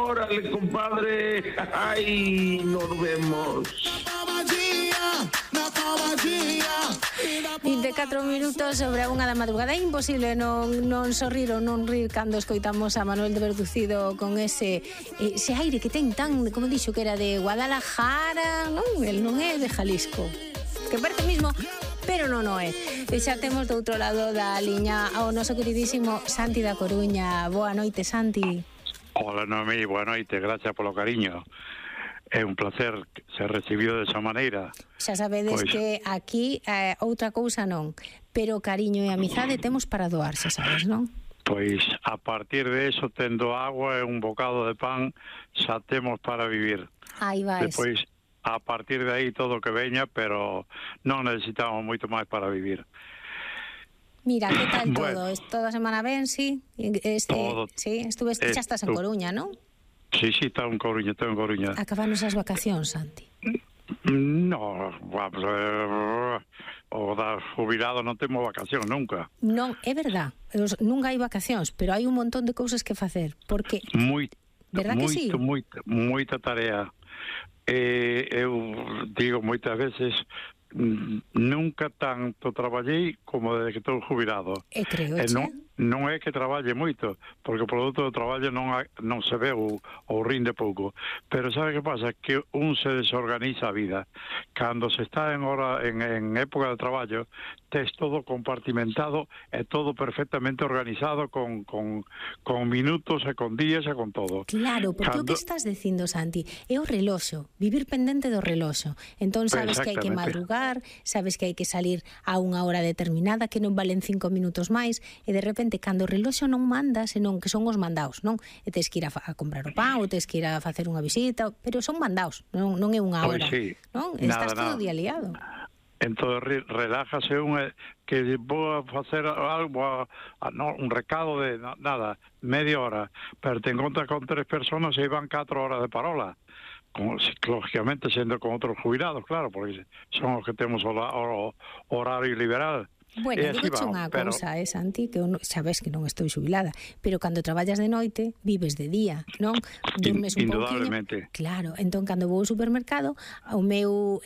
Órale, compadre. Ay, nos vemos. 24 minutos sobre a 1 da madrugada. É imposible non sorrir ou non rir cando escoitamos a Manuel de Verducido con ese aire que ten tan, como dixo, que era de Guadalajara, non? El non é de Jalisco, que parece mismo, pero non é. E xa temos do outro lado da liña ao noso queridísimo Santi da Coruña. Boa noite, Santi. Hola, Noemí, boa noite, gracias polo cariño. É un placer ser recibido desa maneira. Xa sabedes que aquí outra cousa non, pero cariño e amizade temos para doar, xa sabes, non? Pois a partir de eso, tendo agua e un bocado de pan, xa temos para vivir. Aí vais. Depois, a partir de aí todo que veña, pero non necesitamos moito máis para vivir. Mira, que tal todo? Toda a semana ben, sí? Todo. Sí, xa estás en Coruña, non? Sí, estou en Coruña. Acabanos as vacacións, Santi? No, vamos, o da jubilado non temos vacacións nunca. Non, é verdad, nunca hai vacacións, pero hai un montón de cousas que facer, porque... Verdad que sí? Moita tarea. Eu digo moitas veces, nunca tanto traballei como desde que estou jubilado. E creo, non é que traballe moito, porque o produto do traballo non se ve ou rinde pouco, pero sabe que pasa? Que un se desorganiza a vida. Cando se está en época de traballo, tes todo compartimentado e todo perfectamente organizado con minutos e con días e con todo. Claro, porque o que estás dicindo, Santi, é o reloxo, vivir pendente do reloxo. Entón sabes que hai que madrugar, sabes que hai que salir a unha hora determinada, que non valen 5 minutos máis, e de repente cando o reloxo non manda, senón que son os mandaos, non? E tes que ir a comprar o pan, ou tes que ir a facer unha visita, pero son mandaos, non é unha hora, non? Estás todo día liado. Entón relájase que vou a facer algo, un recado de nada, media hora, pero te encontras con 3 personas e van 4 horas de parola. Lógicamente sendo con outros jubilados, claro, porque son os que temos o horario liberal. Bueno, digoche unha cousa, Santi, que sabes que non estou xubilada, pero cando traballas de noite, vives de día, non? Durmes un pouquinho. Indudablemente. Claro, entón cando vou ao supermercado, o meu